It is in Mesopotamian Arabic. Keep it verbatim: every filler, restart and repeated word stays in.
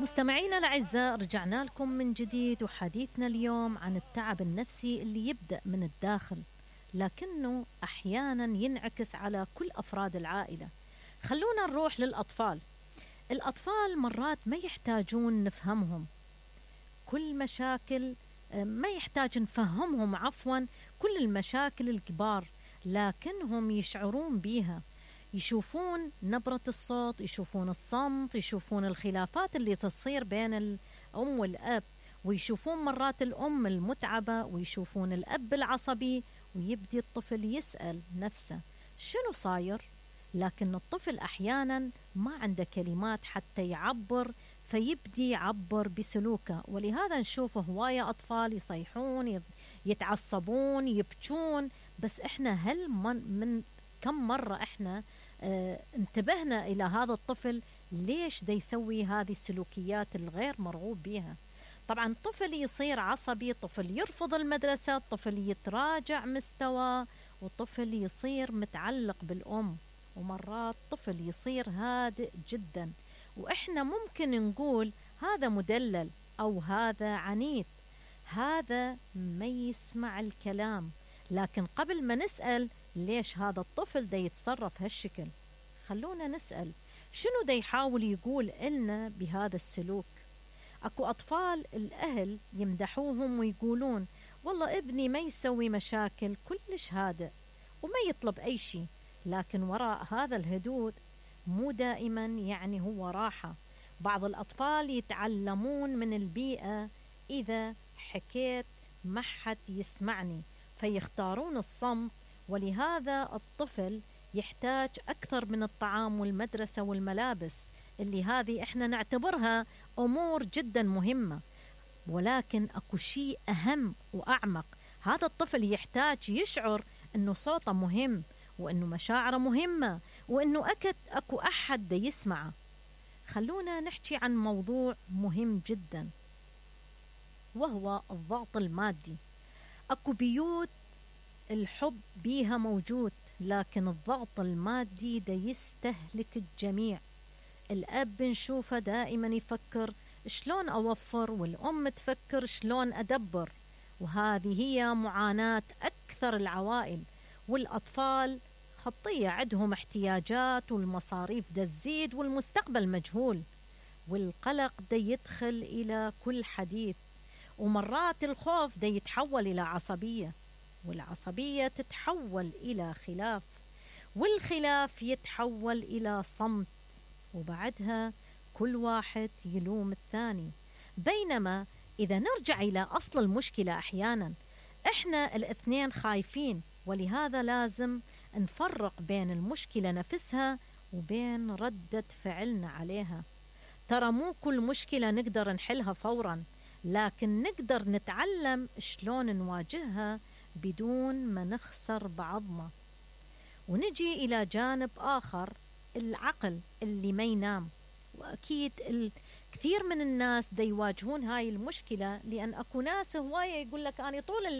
مستمعينا الأعزاء، رجعنا لكم من جديد، وحديثنا اليوم عن التعب النفسي اللي يبدأ من الداخل لكنه أحيانا ينعكس على كل أفراد العائلة. خلونا نروح للأطفال. الأطفال مرات ما يحتاجون نفهمهم كل مشاكل ما يحتاج نفهمهم عفوا كل المشاكل الكبار، لكنهم يشعرون بيها، يشوفون نبرة الصوت، يشوفون الصمت، يشوفون الخلافات اللي تصير بين الأم والأب، ويشوفون مرات الأم المتعبة، ويشوفون الأب العصبي، ويبدي الطفل يسأل نفسه شنو صاير؟ لكن الطفل أحيانا ما عنده كلمات حتى يعبر، فيبدي يعبر بسلوكه. ولهذا نشوف هواية أطفال يصيحون، يتعصبون، يبكون. بس إحنا هل من, من كم مرة إحنا اه انتبهنا إلى هذا الطفل ليش دا يسوي هذه السلوكيات الغير مرغوب بها؟ طبعا طفل يصير عصبي، طفل يرفض المدرسة، طفل يتراجع مستوى، وطفل يصير متعلق بالأم، ومرات طفل يصير هادئ جدا. وإحنا ممكن نقول هذا مدلل أو هذا عنيد، هذا ما يسمع الكلام. لكن قبل ما نسأل ليش هذا الطفل دا يتصرف هالشكل، خلونا نسأل شنو دا يحاول يقول إلنا بهذا السلوك. أكو أطفال الأهل يمدحوهم ويقولون والله ابني ما يسوي مشاكل، كلش هادئ وما يطلب أي شيء، لكن وراء هذا الهدوء مو دائما يعني هو راحة. بعض الأطفال يتعلمون من البيئة، إذا حكيت ما حد يسمعني فيختارون الصمت. ولهذا الطفل يحتاج أكثر من الطعام والمدرسة والملابس، اللي هذه إحنا نعتبرها أمور جدا مهمة، ولكن أكو شيء أهم وأعمق. هذا الطفل يحتاج يشعر أنه صوته مهم، وأنه مشاعره مهمة، وأنه أكد أكو أحد دا يسمعه. خلونا نحكي عن موضوع مهم جدا، وهو الضغط المادي. أكو بيوت الحب بيها موجود، لكن الضغط المادي دا يستهلك الجميع. الأب نشوفه دائما يفكر شلون أوفر، والأم تفكر شلون أدبر، وهذه هي معاناة أكثر العوائل. والأطفال خطية عندهم احتياجات، والمصاريف دا تزيد، والمستقبل مجهول، والقلق دا يدخل إلى كل حديث. ومرات الخوف دا يتحول إلى عصبية، والعصبية تتحول إلى خلاف، والخلاف يتحول إلى صمت، وبعدها كل واحد يلوم الثاني. بينما إذا نرجع إلى أصل المشكلة، أحيانا إحنا الاثنين خايفين، ولهذا لازم نفرق بين المشكلة نفسها وبين ردة فعلنا عليها. ترى مو كل مشكلة نقدر نحلها فورا، لكن نقدر نتعلم شلون نواجهها بدون ما نخسر بعضنا. ونجي إلى جانب آخر، العقل اللي ما ينام. وأكيد الكثير من الناس دا يواجهون هاي المشكلة، لأن أكو ناس هواية يقول لك أنا طول الليل